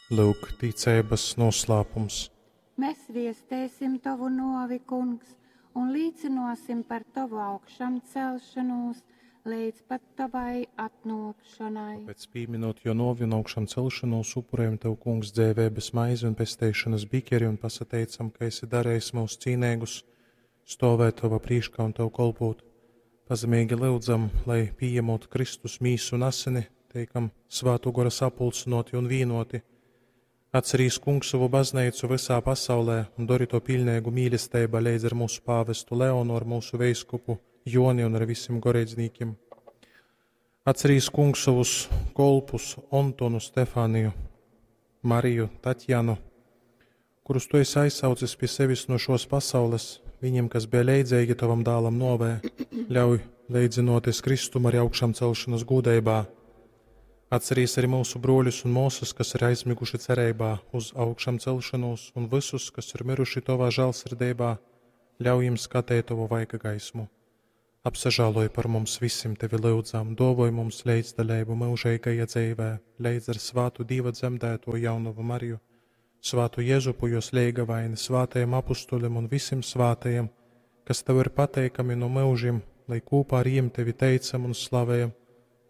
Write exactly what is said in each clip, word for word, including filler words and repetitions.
Lūk, ticeibas noslēpums. Mēs viestēsim tovu novi, kungs, un līcinosim par tovu augšamcelšanos līdz pat tavai atnākšanai. Tāpēc, pieminot jo novi un augšām celšanos, upurējam Tev, Kungs, dzēvēbes maizi un pesteišanas bikeri un pasateicam, ka esi darējis mūs cīnēgus, stovēt Tava prīškā un Tev kolpot. Pazemīgi lūdzam, lai pieņemot Kristus mīsu un asini, teikam svātu gora sapulcinoti un vīnoti. Atcerīs Kungs savu baznīcu visā pasaulē un dori to pilnīgu mīlestību līdz ar mūsu pāvestu Leonu, ar mūsu veiskupu Joni un ar visiem goreidznīkiem. Atcerīs Kungs savus kolpus Antonu, Stefāniju, Mariju, Tatjanu, kurus tu esi aizsaucis pie sevis no šos pasaules, viņiem, kas bija leidzīgi tavam dālam novē, ļauj leidzinoties Kristum arī augšām celšanas gūdeibā. Atcerīs arī mūsu broļus un māsas, kas ir aizmiguši cerībā uz augšām celšanos, un visus, kas ir miruši tavā žēlsirdībā, ļauj jums skatīt tavu vaiga gaismu. Apsažāloj par mums visiem tevi lūdzam, dovoj mums līdzdaļību mūžīgajā dzīvē, līdz ar svātu Dieva dzemdēto jaunavu Mariju, svātu Jēzupu jos leigavaini, svātajiem apustuļiem un visiem svātajiem, kas tev ir pateikami no mūžiem, lai kopā ar jiem tevi teicam un slavējam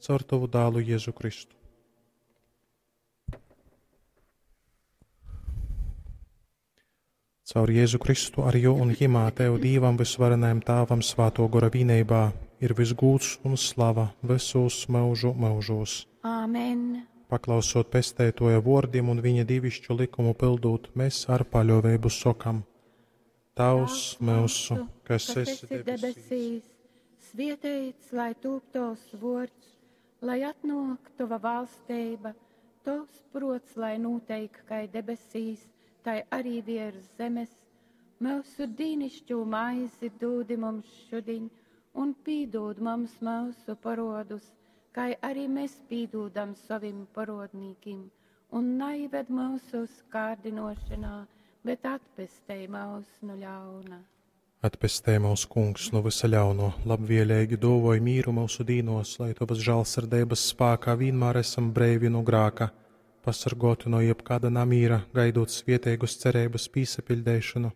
caur tavu dālu Jēzu Kristu. Caur Jēzu Kristu ar jo un jimā Tev Dīvam visvarenajam Tāvam svāto gora vīneibā ir visgūts un slava visos mūžu mūžos. Āmen! Paklausot pestētoja vārdiem un viņa divišķu likumu pildot, mēs ar paļāvību sokam: Tavs mūsu, kas esi debesīs, debesīs, svietēts, lai tūp tovs vords, lai atnāk tova valstība, tovs prots, lai noteik, kai debesīs, tai arī virs zemes. Mūsu dīnišķo maizi dūdi mums šodien, un pīdūd mums mūsu parodus, kai arī mēs pīdūdam savim parodnīkim, un naived mūsu kārdinošanā, bet atpestei mūs no ļauna. Atpestē mūs, Kungs, no visa ļauno, labvēlīgi dovoj mīru mūsu dīnos, lai tavas žēlsirdības spēkā vienmēr esam breivi no grāka, pasargoti no jebkāda namīra, gaidot svieteigus cerības pīsapildēšanu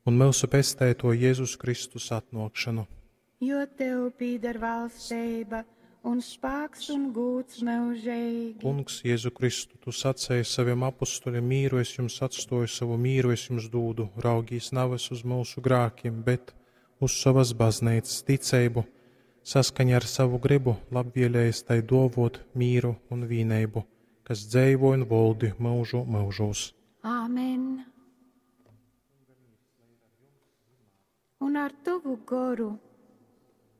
un mūsu pestēto Jēzus Kristus atnākšanu. Jo tev pīder valstība un spēks un gūts mūžīgi. Kungs, Jēzu Kristu, tu sacēji saviem apustuļiem mīru es jums atstoju, savu mīru es jums dūdu, raugīs navas uz mūsu grākiem, bet uz savas baznīcas ticību, saskaņā ar savu gribu, labvēlējis tai dovot mīru un vīneibu, kas dzēvo un voldi mūžu mūžos. Āmen! Un ar tavu goru.